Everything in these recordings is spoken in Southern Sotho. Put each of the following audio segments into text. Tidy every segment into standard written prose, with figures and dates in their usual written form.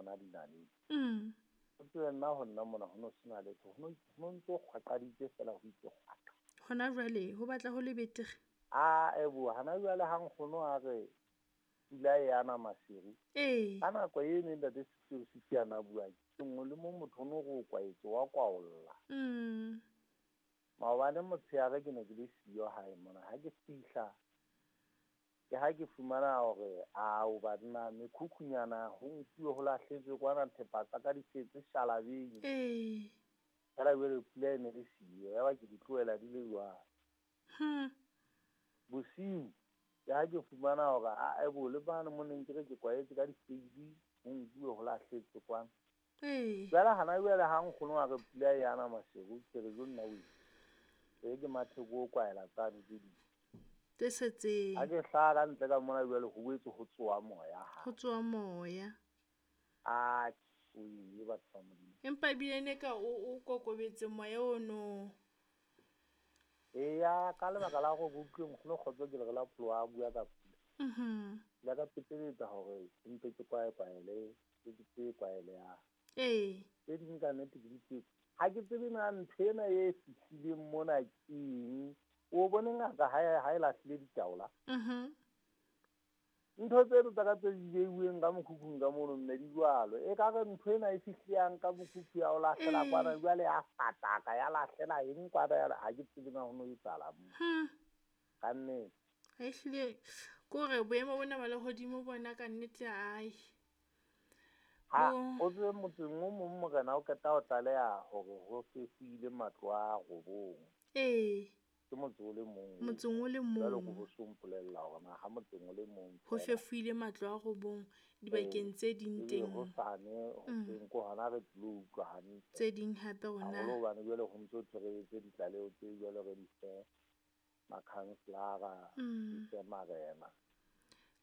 bona dinaledi. O tsebe nna ho nna mona ho no sena letho, ho no ntso kgwaqaditse fela ho itse kgwaqa. Hona jwale ho batla ho le betere. A ebo hana jwale ha nkgono a re pula e ana maseru. Ka nako e neng ntate Sitio Sitio a bua ke nngwe le mo motho no go kwaetse wa kwaolla. Maobane motshehare ke ne ke le siyo hae mona, ha ke fihla ke ha ke fumana hore ao banna mekhukhunyana ho nkuwe ho lahletswe kwana thepa tsa ka di setse shalabeng. Fela jwale pula e ne le siyo, ya ba ke di tlohela di le jwalo. Bosiu ke ha ke fumana hore a ebo le bane mo neng ke re ke kwaetse ka di-spade ho nkuwe ho lahletswe kwana. Jwale hana jwale ha nkgono a re pula e ana maseru, ke re jo nna o e ke matheko o kwaela tsane tse ding. Tse setseng. Ha ke hlaha ka ntle ka mona jwale ho boetse ho tsoha moya ha. Ho tsoha moya. A o ile batho ba Modimo. Empa ebile ne ka o kokobetse moya ono. Eya ka lebaka la hore ke utlwe nkgono Kgotso ke le re la pholo a bua ka pula. La ka peteletsa hore mpe ke kwae kwaele, ke ke kwaele ya. Tse ding ka nnete ke di tsebe. Ha ke tsebe na ntho ena e fihlileng mona ke eng. O bone ngaka ha e lahlile ditaola. Ntho tseno tsa ka tse di beuweng ka mokhukhung ka mono mme di jwalo. E ka re ntho ena e fihliyang ka mokhukhu ya o lahlela kwana jwale ya fataka ya lahlela eng kwana ya ha ke tsebe na ho no etsahala mo. Ka nnete. Ehlile kore boemo bona ba lehodimo bona ka nnete ai. Ha o tsebe motseng o mong morena o qeta ho tlaleha hore ho fefuile matlo a robong. Ke motse o le mong. Motseng o le mong. Jwale ko bo so mpolella hore na ha motseng o le mong ho fefuile matlo a robong dibakeng tse ding teng. Ho sane ho teng ko hona re tlo utlwa hantle. Tse ding hape rona. Haholo hobane jwale ho ntso thwe re ditlaleho tse jwale re di fe makhanselara, di fe marena.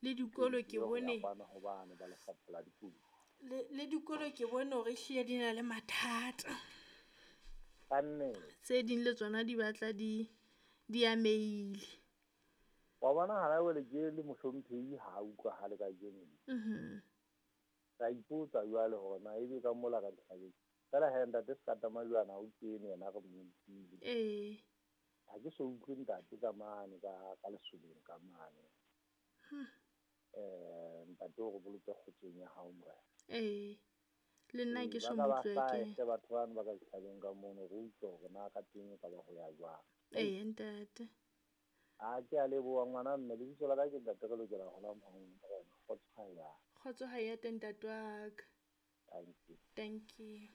Le dikolo ke bone hobane ba lefapha la dikolo. Le dikolo ke bone hore ehlile di na le mathata. Ka nnete. Tse ding le tsona di batla di amehile. Wa bona hana jwale ke le mohlomphehi ha utlwahale kajeno. Ka ipotsa jwale hore na ebe ka mola ka dihlabeng. Fela he ntate Sekata Majwana o kene yena re mo utlwile. Ha ke so utlwe ntate ka mane ka lesoleng ka mane. Ntate o re boloke kgotsong ya hao morena. Le nna ke so mo utlwe ke. Batho bano ba ka dihlabeng ka mono re utlwe hore na ka teng e ka ba ho ya jwang. Ntate. A ke a leboha ngwana mme lebitso la ka ke ntate re lokela ho la morena. Kgotso ha ya. Kgotso ha ya teng ntate wa ka. Thank you. Thank you.